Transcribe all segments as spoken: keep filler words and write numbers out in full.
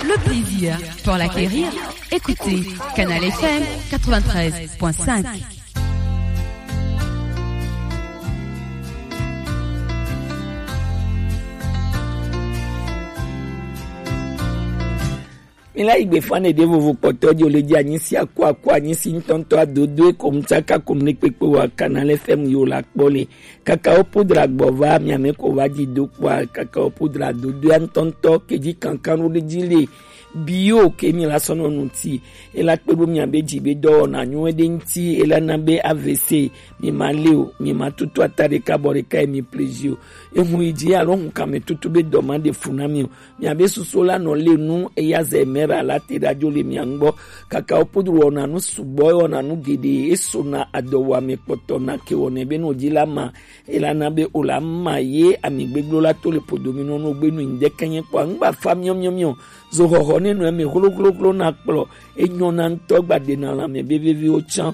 Le plaisir pour l'acquérir. Écoutez Canal F M quatre-vingt-treize point cinq. Mi la yi gbe fane ɖe vovo kpɔtɔ jo le dzi anyi si aku aku anyi si ŋutɔŋutɔ adodo eko ŋutsaka kom ne kpekpe wa Canal F M yo la kpɔ le. Kakao poudre gbɔ va miame ko va dzi do kpɔa, kakao poudre dodoa ŋutɔŋutɔ ke dzi kankan ɖo ɖe dzi le bio ke mi la sɔnɔ ŋuti. Ela kpe ɖo miabe dzi be dɔwɔna nyuie ɖe ŋuti, ela na be A V C mi ma le o, mi ma tutu ata ɖeka bɔ ɖeka ye mi plezi o. Ehun yi dzi alo hun kame tutu be dɔ ma ɖe fu na mi o. Miabe susu la nɔ le nu eya zɛ mɛ ra la te ɖa dzo le mia ŋgbɔ. Kakao poudre wɔna nu sugbɔ, wɔna nu geɖe, esona adɔwɔame kpɔtɔ na ke wɔnɛ be no dzi la ma. Ela na be o la ma ye ami gbegblɔ la to le podo mi nɔ no gbe nu ŋdɛ kenye kpɔ ŋgba fa miɔ miɔ miɔ. Zo xɔxɔ ne nɔ eme hlo hlo hlo na kplɔ. Enyɔ na ŋutɔ gba ɖe na lãme veveviwo tsã.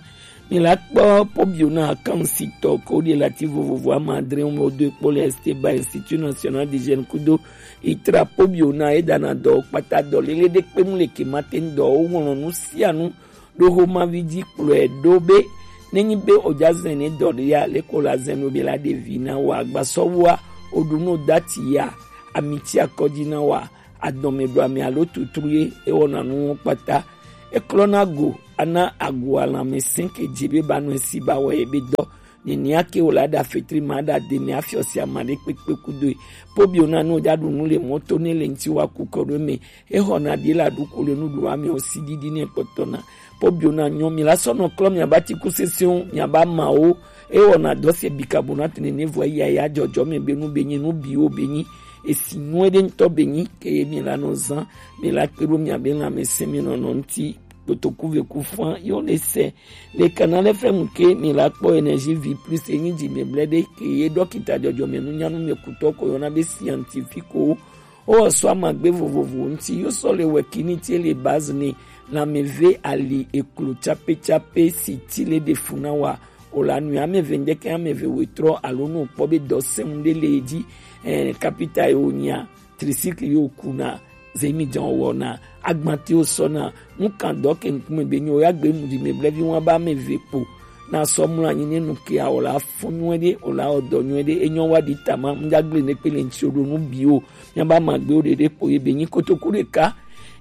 Mi la kpɔ pobio na akansitɔ ko ɖe lati vovovo ama adre wo do kpɔ le Esteba Institut National d'Hygiène kudo itra pobio na edana dɔ kpata dɔ lele ɖe kpe mu le kemate dɔ wo ŋlɔ nu sia nu ɖo xomavi dzi kplɔe ɖo be nenyi be o dza zɛn ne dɔ ɖe ya le ko la zɛn ɖo be la ɖe vi na wa agbasɔwua o ɖu no dati ya amitsi akɔdzi na wa adɔme ɖo ame alo tutru ye ewɔna nuwo kpata. Eklɔna go ana agu alãme sɛn ke dzi be ba nɔ esi ba wɔ ye be dɔ. Nenia ke wòle aɖa fetri ma aɖa de mi afiɔ sia ma ɖe kpekpe kudoe. Pobio na nu ɖa ɖu nu le mɔto ne le ŋti wa ku kɔ ɖo me. Exɔna ɖi la ɖu ko le nuɖu ame o si ɖiɖi ne kpɔtɔ na. Pobio na nyɔ mi la sɔ nɔ klɔ mi aba ti ku sese o mi aba ma o. Ewɔna dɔ se bikabonate ne ne vɔ ya ya dzɔdzɔ me be nu be nyi nu bi o be nyi. Esi nyuie ɖe ŋutɔ be nyi ke ye mi la nɔ zan mi la kpe ɖo mi abe lãmesẽ mi nɔnɔ ŋti. Kotoku ve ku fã yo le se. Le Canal F M ke mi la kpɔ Énergie Vie Plus enyi dzi me blɛ ɖe ke ye dɔkita dzɔdzɔme nunyanu me kutɔ ko yɔna be scientifique o. O sɔ amagbe vovovo ŋti yo sɔ le wɛ kini tie le base ne lãmeve ali eklo tsape tsape si ti le ɖe fu na wa. O la nu ame ve ŋdeke ame ve wetrɔ alo nu kpɔ be dɔ sɛŋ ɖe le edzi. Eh, kapita yo nya tricycle yo kuna zemi dzɔn wɔna agbatiwo sɔna nukan dɔ ke ŋkume be nyo ya gbe nu di me blevi wa ba me ve kpo na sɔ mlɔ anyi ne nu ke awɔ la fɔ nyuie ɖe o la wɔ dɔ nyuie ɖe enyɔ wa ɖi tama ŋdagble ne kpe le ŋti o ɖo nu bi o. Mia ba ma gbe o ɖeɖe kpo ye be nyi kotoku ɖeka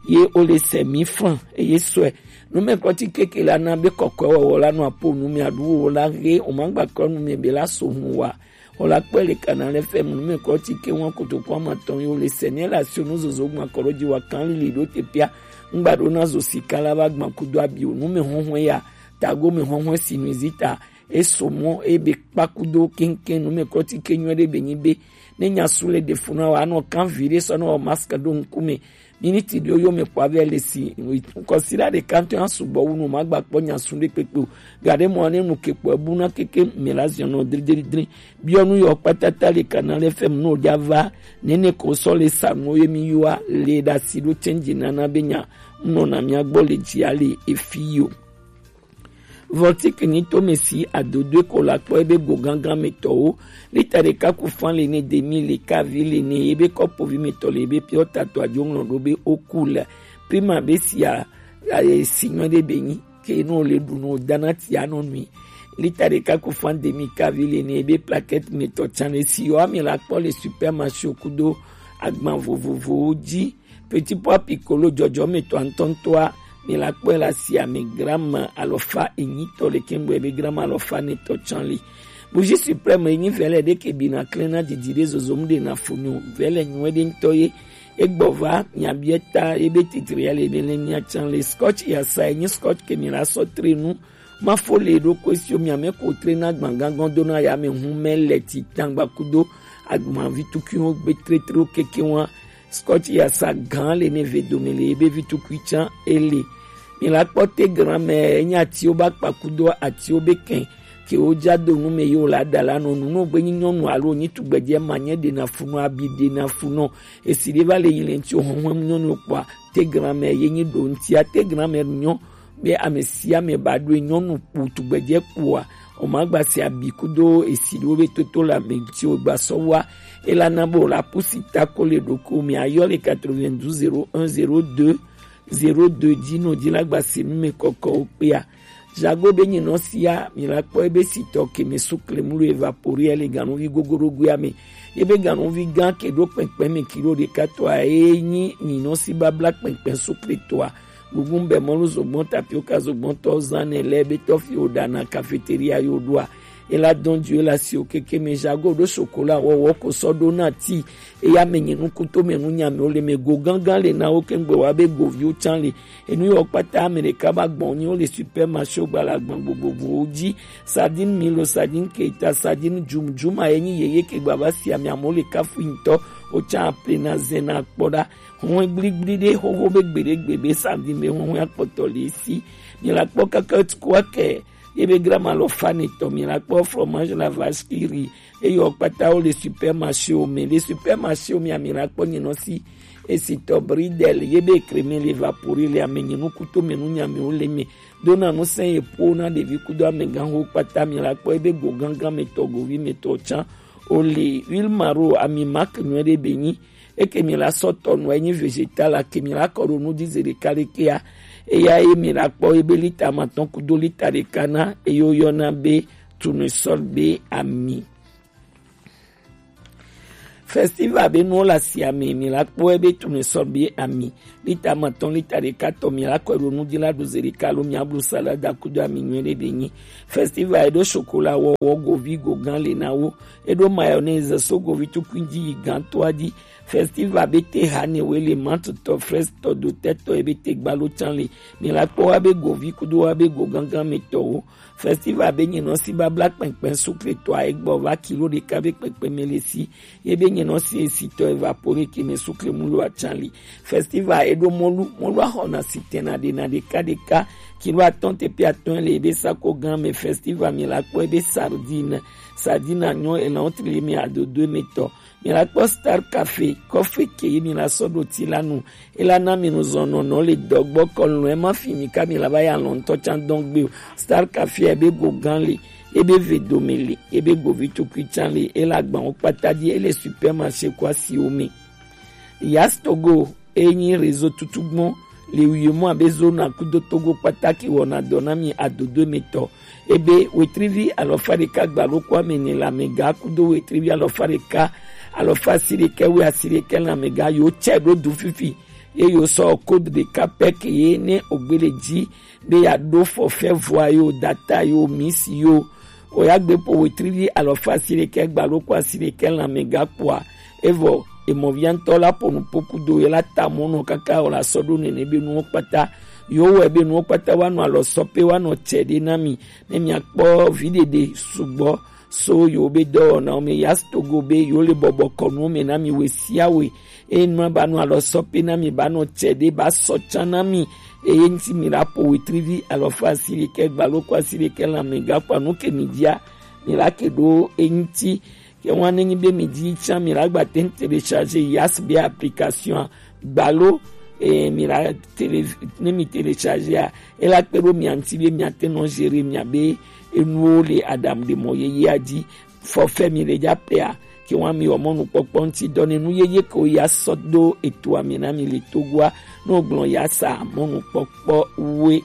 ye o le se mi flan eye sɔe. Numɛkɔti keke la na be kɔkɔe wɔwɔ la nɔ apo nu mia ɖu wo la he o ma gba kɔ nu me be la so hun wa. Wòle akpɔe le Canal F M nume kɔ ti ke ŋua kotoku amatɔn yi wòle sɛ ne le asio nuzozo gbã kɔ ɖo dzi wa kan lili ɖo te pia ŋgba ɖo na zo sika la va gbã kudo abi o nume hɔhɔe ya tago me hɔhɔe si nu zi ta eso mɔ ebe kpa kudo keŋkeŋ nume kɔ ti ke nyuie ɖe be nyi be ne nya su le ɖe fu na wa anɔ kan vi ɖe sɔ ne wɔ masque ɖo ŋkume. Miniti ɖewo yome kpo ave le si ŋkɔsiɖa ɖeka ŋutɔ ya sugbɔ wu nu magba kpɔ nya su ɖe kpekpe o. Gaɖe mɔ ne nu ke kpɔ ebu na keke me la ziɔ nɔ dridridri. Biɔ nu yɔ kpatata le Canal F M no ɖa va. Nene ko sɔ le sa nuwo ye mi yua le ɖa si ɖo change nana be nya. Nɔ na mia gbɔ le dzi ale efi yo. Voltic nyi tome si adodoe ko la kpɔ ebe go gangan me tɔwo. Lita ɖeka ku fan le ne demi le kavi le ne ebe kɔpovi me tɔ le ebe piɔ tato adzo ŋlɔ ɖo be oku le. Prima be sia aye si nyɔ ɖe be nyi ke no le ɖu no dana ti anɔ nui. Lita ɖeka ku fan demi kavi le ne ebe plaquette me tɔ tsan le si yɔ ame la kpɔ le supermarché kudo agban vovovowo dzi. Petit pois piccolo dzɔdzɔmetɔ ŋutɔŋutɔa mi la kpɔe le asia me gramme alɔfa enyitɔ le kɛŋgbɛ be gramme alɔfa netɔ tsan li. Bougie suprême enyi vɛlɛ ɖe ke bina klẽ na didi ɖe zozom ɖe na fu nyo vɛlɛ nyuie ɖe ŋutɔ ye. Egbɔ va miabiɛ ta ebe titri ya le be le mia tsan le scotch yasa enyi scotch ke mi la sɔ tre nu. Mafo le ɖo ko esio miame ko tre na gbãgãgɔ̃ do na yame hu mɛ le ti tangba kudo agbavi tukiwo gbe tretrewo keke wa. Scotch yasa gã le ne ve dome le ebe vi tukui tsã ele. Mi la kpɔ te gran mɛ enye atiwo ba kpa kudo atiwo be kɛn ke wo dza do nu me yewo la da la nɔ nu no gbe nyi nyɔnu alo nyi tugbedze ma nye ɖe na fu nɔ abi ɖe na fu nɔ. Esi ɖe va le yi le ŋti o hɔhɔn nyɔnu kpɔa te gran mɛ ye nyi ɖo ŋtia te gran mɛ nyɔ. Be ame sia ame ba ɖoe nyɔnu kpo tugbedze kpoa O ma gba si abi kudo esi ɖo be toto le ame ŋuti o gba sɔ wa. E la na bo la pusi ta ko le ɖoko mi ayɔ le quatre-vingt-douze zéro un zéro deux zéro deux dzi no dzi la gba si nu me kɔkɔ o kpea. Jago be nyi nɔ sia mi la kpɔ ebe si tɔ ke me su klemu lo evaporer le ganuvi gogoro gui ame. Ebe ganuvi gan ke ɖo kpɛnkpɛn me kilo ɖeka tɔa e nyi nyi nɔ si babla kpɛnkpɛn su kle tɔa. Gugun bɛ mɔlu zogbɔn tapioka zogbɔn tɔ zan ne lɛ be tɔ fi o ɖana cafeteria yo ɖoa. E la dɔn ju e la si o keke me jago ɖo chocolat wɔwɔ ko sɔ ɖo na ti. E ya me nyi nukuto me nu nya me o le me go gangan le na wo kengbe wa be goviwo can le. Enu yɔ kpata ame ɖeka ba gbɔn nyi wo le supermarché o gbala gbɔn gbogbogbò wo dzi. Sardine milo, sardine keita, sardine jum jum a ye nyi yeye ke gba va si ame amewo le kafu ŋutɔ. O can aple na zɛ na kpɔ ɖa. Hɔn gbligbli ɖe xoxo be gbeɖegbe be sardine be hɔn akpɔtɔ le si. Mi la kpɔ kaka tukua kɛ ye be grama lɔ fa ne tɔ mi la kpɔ fromage la vache qui rit. Eyɔ kpata wo le supermarché o me le supermarché o mi ami la kpɔ nyi nɔ si. Esi tɔ bridel ye be crème le evaporer le ame nyi nukuto me nu nya me wo le me. Dona nu sɛn ye po na ɖevi kudo amegã ho kpata mi la kpɔ ebe go gangan me tɔ govi me tɔ can. O le huile maro ami marque nyuie ɖe be nyi. Eke mi la sɔ tɔ nu enyi végétal ake mi la kɔ ɖo nu di ze ɖeka ɖekea. Eya ye mi la kpɔ ebe lita matɔn kudo lita ɖeka na eye woyɔna be tournesol be ami. Festival be nuwo le asia me mi la kpɔ ebe tournesol be ami. Lita matɔn lita ɖeka tɔ mi la kɔ ɖo nu di la ɖu ze ɖeka lo mi ablu salade kudo ami nyuie ɖe be nyi. Festival eɖo chocolat wɔwɔ govi go gan le na wo. Eɖo mayonnaise so govi tukui dzi yi gan toa dzi. Festival be te hane we le mantutɔ frestɔ dotɛtɔ ebe te gbalo can le. Mi la kpɔ wa be govi kudo wa be go gangan me tɔwo. Festival be nyi nɔ si babla kpɛnkpɛn sukle tɔ a egbɔ va kilo ɖeka be kpɛnkpɛn me le si. Ye be nyi nɔ si esi tɔ evapore ke me sukle mu lo acan le. Festival eɖo mɔlu mɔlu axɔna si tɛna ɖena ɖeka ɖeka. Kilo atɔn te pe atɔn le ebe sako gan me festival mi la kpɔ ebe sardine. Sardine anyɔ elan tli mi adodo me tɔ. Mi la kpɔ Star Cafe kɔfe ke ye mi la sɔ ɖo ti la nu. E la na mi nu zɔn nɔnɔ le dɔgbɔ kɔ lɔn e ma fi mi ka mi la va ya lɔn tɔ can dɔn gbe o. Star Cafe ebe go gan le, ebe ve dome le, ebe govi tukui can le, e la gban wo kpata di e le supermarché kɔ asi wo me. Yas Togo e nyi réseau tutugbɔn le wiemɔ abe zona kudo Togo kpata ke wɔna dɔ na mi adodo me tɔ. Ebe wetrivi alɔfa ɖeka gbalo kɔ ame ne le amega kudo wetrivi alɔfa ɖeka alɔfa asi ɖeka we asi ɖeka le amega yo tsɛ ɖo du fifi. Ye yo sɔ code ɖeka pɛ ke ye ne ogbele dzi be ya ɖo forfait voix yo, data yo, mix yo. O ya gbe po wetrivi alɔfa asi ɖeka gbalo kɔ asi ɖeka le amega kpɔa. Evɔ emɔvia ŋutɔ la ƒo nu ƒo kudo ye la ta mɔnɔ kaka o la sɔ ɖo nene be nuwo kpata. Yo wɛ be nuwo kpata wa nɔ alɔ sɔ pe wa nɔ tsɛ ɖe na mi. Ne mi akpɔ vi ɖeɖe sugbɔ so yo be dɔwɔna wo me Yas Togo be yo le bɔbɔ kɔ nuwo me na mi we sia we. Eye nu ba nɔ alɔ sɔ pe na mi ba nɔ tsɛ ɖe ba sɔ can na mi. Eye ŋuti mi la ƒo wetrivi alɔfa asi ɖeka gbalo kɔ asi ɖeka le amega kpɔa nu ke mi dia mi la ke ɖo eŋuti. Ke wan ne nyi be mi di can mi la gba te télécharger Yas be application gbalo. E mi la télé ne mi télécharger a e la kpe ɖo mia ŋuti be mia te nɔ gérer mia be enuwo le aɖaŋuɖemɔ yeyea dzi. Forfait mi le dza pɛa ke wan mi wɔ mɔnukpɔkpɔ ŋuti dɔ ne nu yeye ke wo ya sɔ do etoa mi na mi le Togoa. Ne wo gblɔ ya sa mɔnukpɔkpɔ we.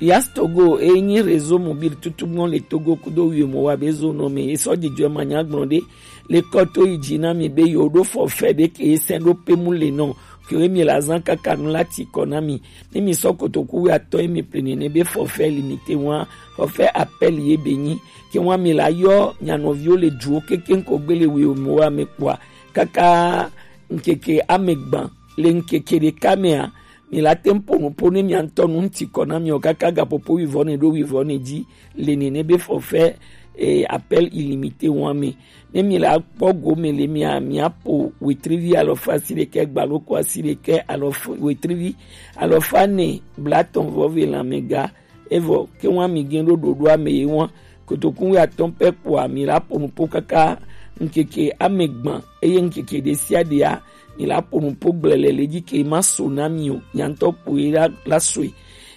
Yas Togo e nyi réseau mobile tutugbɔn le Togo kudo wiemɔ wa be zo nɔ me. E sɔ dzidzɔ ma nya gblɔ ɖe le kɔ to yi dzi na mi be yo ɖo forfait ɖe ke e sɛn ɖo pe mu le nɔ ke wo mi la zan kaka nu la ti kɔ na mi. Ne mi sɔ kotoku wi atɔ ye mi ple nene be forfait limité wa forfait appel ye be nyi ke wa mi la yɔ nya nɔviwo le duwo kekeŋ ko gbele wiemɔ wa me kpɔa kaka ŋkeke ame gban le ŋkeke ɖeka mea. Mi la te ŋu ƒo nu ƒo ne mia ŋutɔ nu ŋuti kɔ na mi o kaka gaƒoƒo wivɔ ne ɖo wivɔ ne dzi le nene be forfait eh, appel illimité wa me. Ne mi la kpɔ gome le mia mia ƒo wetrivi alɔfa asi ɖekɛ gbalo ko asi ɖekɛ alɔfa wetrivi alɔfa ne blatɔn vɔ ve le amega. Evɔ ke wa mi gɛn ɖo ɖoɖo ame ye wa kotokun wi atɔn pɛ kpoa mi la ƒo nu ƒo kaka ŋkeke ame gban eye ŋkeke ɖe sia ɖea mi la ƒo nu ƒo gblele le dzi ke ma so na mi o nya ŋutɔ kpoe la la soe.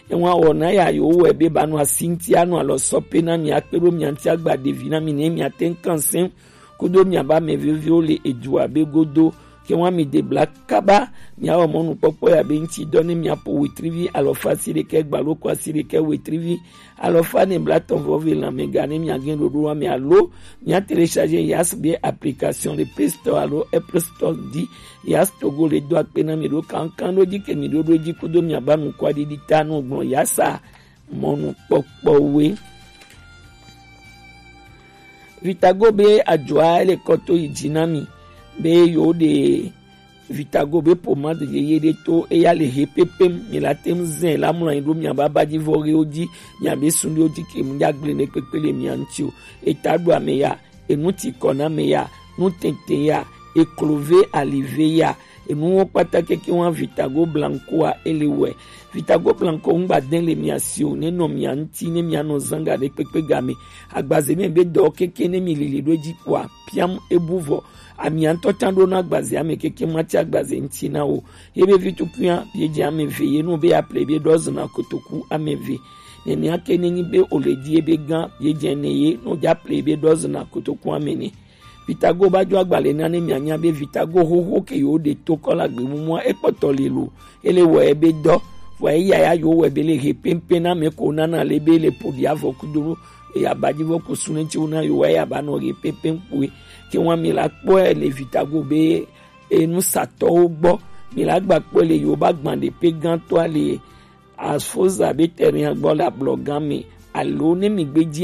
Ewa wɔna ya yo wɛ be ba nɔ asi ŋuti anɔ alɔ sɔ pe na mi akpe ɖo mia ŋuti agba ɖevi na mi ne mia te ŋu kan sɛn kudo mia ba mɛ veviwo le edua be godo. Ke wa mi de bla kaba mia wɔ mɔnukpɔkpɔ ya be ŋuti dɔ ne mia po wetrivi alɔfa si ɖekɛ gba loko asi ɖekɛ wetrivi alɔfa ne bla tɔn vɔ ve lanmɛ ga ne mia gɛn ɖoɖo wa mi alo mia télécharger Yas be application le Play Store alo Apple Store di. Yas Togo le do akpe na mi ɖo kankan ɖo dzi ke mi ɖo ɖo dzi kudo mia ba nukua ɖiɖi ta no gblɔ Yasa mɔnukpɔkpɔwoe. Vitago be ajoa ele kɔto yi dzi na mi be yo ɖe Vitago be pomade yeye ɖe to eya le he pepem mi la tem zɛn la mlɔ anyi ɖo mia ba ba dzi vɔ ɣewo dzi mia be sun ɖewo dzi ke mu dza gble ne kpekpe le mia ŋuti o. Eta ɖo ame ya, enu ti kɔ na ame ya, nu tete ya, eklove alive ya, enuwo kpata keke wa Vitago Blanco a ele wɛ. Vitago Blanco ŋgba den le mia si o ne nɔ mia ŋuti ne mia nɔ zanga ɖe kpekpe game. Agbaze mi be dɔ keke ne mi lili ɖo dzi kua piam ebu vɔ. Amia ŋutɔ tsan ɖo na agbazea me keke mati agbaze ŋuti na o. Ye be vi tukuia ye dze ame ve ye no be ya ple be ɖɔ zina kotoku ame ve. Nenea ke ne nyi be o le di ye be gã ye dze ne ye no dza ple be ɖɔ zina kotoku ame ne. Vitago ba dzo agbalẽ na ne mianya be Vitago xoxo ke yewo ɖe to kɔ le agbe mumua ekpɔtɔ le lo. Ele wɔ ebe dɔ. Vɔ eya ya yewo wɔ ebe le he pɛnpɛn na me ko nana le be le poɖi avɔ kudo eya ba dzi vɔ ko sunɛ tsi wo na yewo eya ba nɔ he pɛnpɛn kpoe. Ke wa mi la kpɔe le Vitago be enusatɔwo gbɔ. Mi la gba kpɔe le yewo ba gban ɖe pe gãtɔa le Afoza be terrain gbɔ le ablɔgã me alo ne mi gbe dzi